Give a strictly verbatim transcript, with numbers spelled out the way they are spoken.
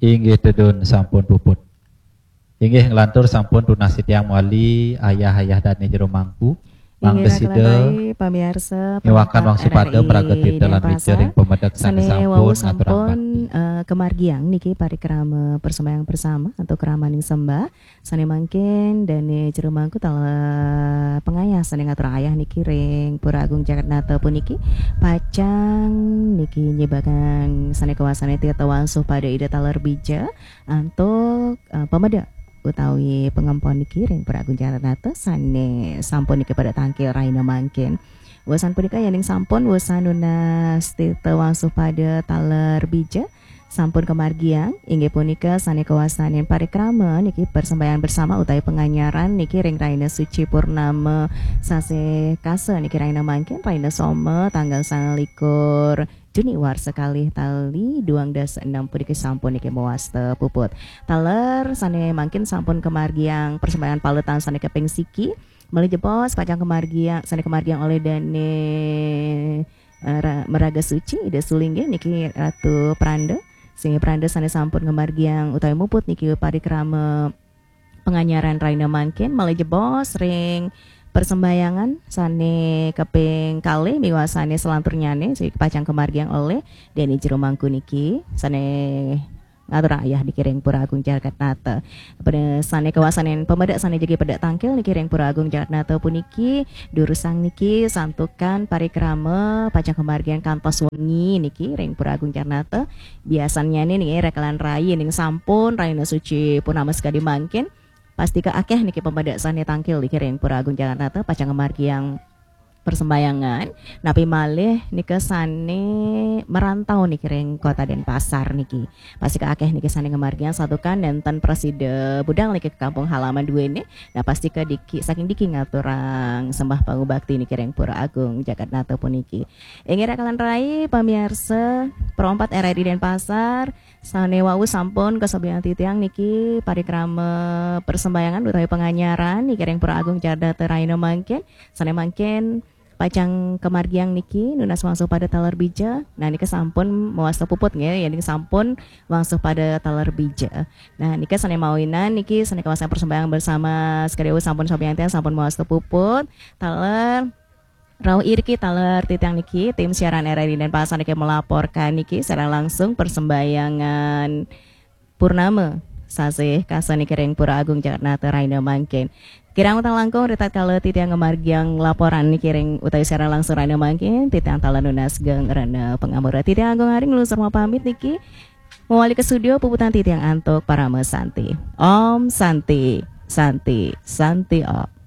Inggih tedun sampun puput. Inggih nglantur sampun tunas titiang mawali ayah-ayah dane jero mangku. Mangda sida pamiarsa ngiwakan wangsu pada maraga titelan wica ring pamedek sane sampun ngaturang bakti. Uh, kemargiang niki parikrama persembahyang bersama atau kramaning sembah sane mangkin dane jero mangku taler pangayah sane ngatur ayah niki ring Pura Agung Jagatnata puniki pacang niki nyebagang sane kawasane tirta wangsuh pada Ida taler bija antuk uh, pamedek utawi pangempon niki ring Pura Agung Jagatnata sane sampun niki pada tangkil raina mangkin. Wesan punika yening sampun wesan nunas tirta wangsuh pada taler bija sampun kemargiang inggih punika sane kawastanin parikrama niki persembahyang bersama utawi panganyaran niki ring raina suci purnama sasih kasa niki raina mangkin raina soma tanggal sangalikur Juni warsa kalih tali duang dasa enam puniki sampun niki mawasta puput. Taler sane mangkin sampun kemargiang persembahyang paletan sane kaping siki. Malih jebos pacang kemargiang sane kemargiang olih dane eh, ra- meraga suci Ida Sulinggih niki Ratu Pranda. Sehingga Pranda sane sampun kemargiang utawi muput niki parikrama panganyaran raina mangkin malih jebos ring persembahyangan sane kaping kalih miwah sane selanturnyane sane pacang kemargiang olih dene jero mangku niki sane ngaturang ayah niki ring Pura Agung Jagatnata. Pada sane kawastanin pamedek sane jagi pedek tangkil niki ring Pura Agung Jagatnata puniki durusang niki santukan parikrama pacang kemargiang kantos wengi niki ring Pura Agung Jagatnata. Biasanyane niki rekalan rai ning sampun raina suci purnama sekadi mangkin. Pastika akeh niki pamedek sane tangkil niki ring Pura Agung Jagatnata pacang ngamargiang persembahyangan. Napi malih nika sane merantau niki ring Kota Denpasar niki. Pastika akeh niki sane ngamargiang santukan nenten prasida budal niki ke kampung halaman duene. Nah pastika diki saking diki ngaturang sembah pangubakti niki ring Pura Agung Jagatnata puniki. Inggih rakalan rai pamiarsa Pro empat R R I Denpasar. Sane wau sampun kasobian titiang niki parikrama persembahyangan utawi panganyaran niki ring Pura Agung Jagatnata raina mangkin. Sane mangkin pacang kamargiang niki nunas wangsuh pada taler bija. Nah nika sampun mawasta puput nggih, yening sampun wangsuh pada taler bija. Nah nika sane mawinan niki sane kawastanin persembahyangan bersama sekadi wau sampun sobian titiang sampun mawasta puput. Taler Rauh iriki taler titiang niki, tim siaran R R I Denpasar niki melaporkan niki siaran langsung persembahyangan Purnama sasih kasa niki ring Pura Agung Jagatnata raina mangkin. Kirang utang langkung ritatkala titiang ngamargiang laporan niki ring utawi siaran langsung raina mangkin, titiang taler nunas geng rena pangampura. Titiang Agung Aring nglungsur mapamit niki. Mawali ka studio puputan titiang antuk parama santi. Om Santi, Santi, Santi Om.